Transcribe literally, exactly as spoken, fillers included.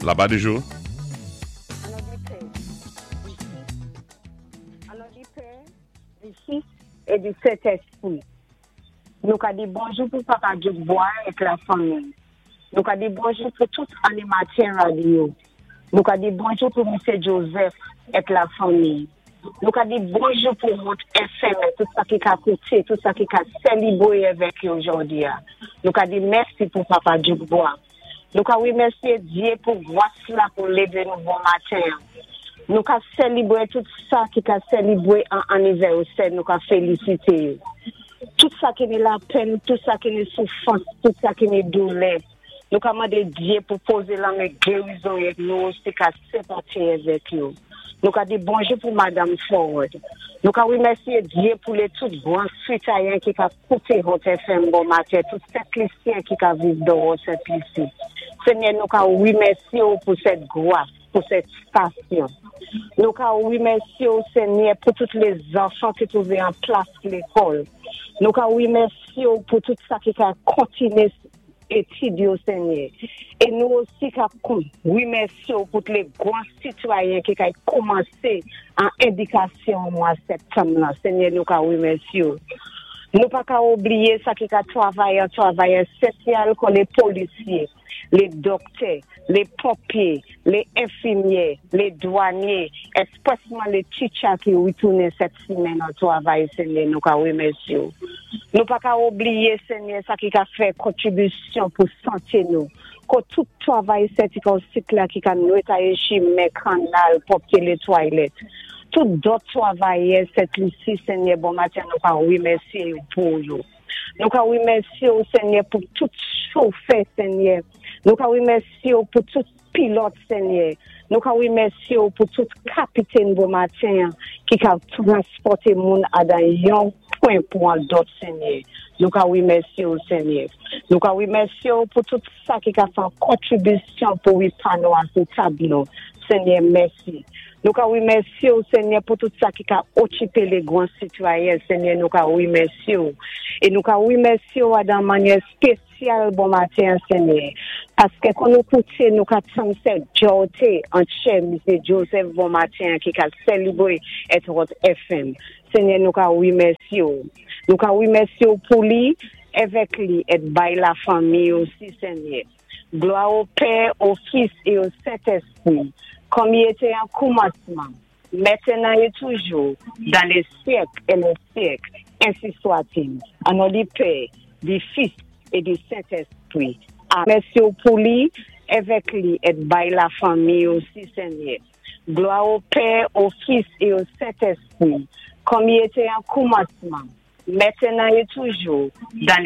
Là-bas du jour. An non di Pè, di Fis, an non di Pè, di Fis é di Sentèspwi. Nou ka di bonjou pou Papa Dubois ak la fanmi. Nou ka di bonjou pou tout animatè radyo. Nou ka di bonjou pou Misye Joseph ak la fanmi. Nou ka di bonjou pou Hot F M, tout sa ki ka kouté, tout sa ki ka sélibwé avèk yo jòdi a. Nou ka di mèsi pou Papa Dubois. Nou ka wimèsyé Dye pou gwas la pou lévé nou bon maten. Nou ka sélibwé tout sa ki ka sélibwé an anivèsè, nou ka félisité yo. Tout sa ki ni lapenn, tout sa ki ni soufwans, tout sa ki ni doulè. Nou ka mandé Dye pou pozé lanmen gérizon ek nou osi ka senpati avèk yo. Nou ka di bonjou pou Madame Forward. Nou ka wimèsyé Dye pou lé tout gwan sitwayen ki ka kouté Hot F M bon maten, tout Sent-Lisyen ki ka viv dan Sent-Lisi. Senyè, nou ka wimèsyé ou pou sèt gwas, pou sèt stasyon. Nou ka wimèsyé ou, Senyè, pou tout lé zanfan ki twouvé an plas lékòl. Nou ka wimèsyé ou pou tout sa ki ka kontiné étid yo, Senyè. É nou osi ka wimèsyé ou pou tout lé gwan sitwayen ki ka kòmansé an édikasyon mwa septanm la. Senyè, nou ka wimèsyé ou. Nou pa ka oubliyé sa ki ka twavay an twavayè sosyal kon lé polisyé, lé dòktè, lé ponpyé, lé enfimyè, lé dwanyé, èspwèsman lé teacher ki witounen sèt simenn an twavay, Senyè, nou ka wimèsyé ou. Nou pa ka oubliyé, Senyè, sa ki ka fè kontribisyon pou santé nou. Kon tout twavay sèti kon sit la ki ka nwetayé chimen, kannal, pwòpté lé twalèt. Tout dòt twavayè Sent-Lisi, Senyè, bon maten, nou ka wimèsyé ou pou yo. Nou ka wimèsyé ou, Senyè, pou tout chofè, Senyè. Nou ka wimèsyé ou pou tout pilòt, Senyè. Nou ka wimèsyé ou pou tout kapitèn bon maten ki ka transpòté moun adan yon pwen pou an dòt, Senyè. Nou ka wimèsyé ou, Senyè. Nou ka wimèsyé ou pou tout sa ki ka fè kontribisyon pou wi pa nou an sou tab nou. Senyè, mèsi. Nou ka wimèsyé ou, Senyè, pou tout sa ki ka okipé lé gwan sitwayen, Senyè, nou ka wimèsyé ou. É nou ka wimèsyé ou adan mannyè spésyal bon maten, Senyè. Paské kon nou kouté, nou ka tann sèt jòté an chè, Misye Joseph bon maten, ki ka sélibwé et Hot F M. Senyè, nou ka wimèsyé ou. Nou ka wimèsyé ou pou li, avèk li, et bay la fanmi osi, Senyè. Glwa o Pè, o Fis é o Sentèspwi, kòm i été an kòmansman, mentenan é toujou, dan lé syèk é lé syèk, ensi swa-t-il. An non di Pè, di Fis é di Sentèspwi. Mèsi ou pou li, avèk li, et bay la fanmi osi, Senyè. Glwa o Pè, o Fis é o Sentèspwi, kòm i été an kòmansman, mentenan é toujou, dan